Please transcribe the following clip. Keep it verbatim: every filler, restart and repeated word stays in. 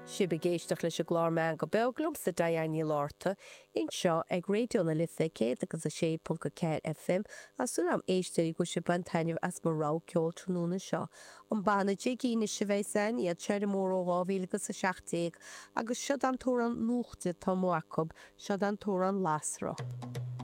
Sibh ag éisteacht leis an gclár Meangadh Beag liomsa Diane Ní Fhlatharta anseo ag Raidió na Life céad agus a sé ponc a ceathair FM Tá súil agam éisteoirí go bhfuil sibh ag baint taitneamh as mo rogha ceoil tráthnóna seo. An banna Jiggy anois a bheas ann, iad seo ar an mbóthar ó dhá mhíle agus a seacht déag agus seod an t-amhrán nuachta atá amuigh acu, seod an t-amhrán Lasrach.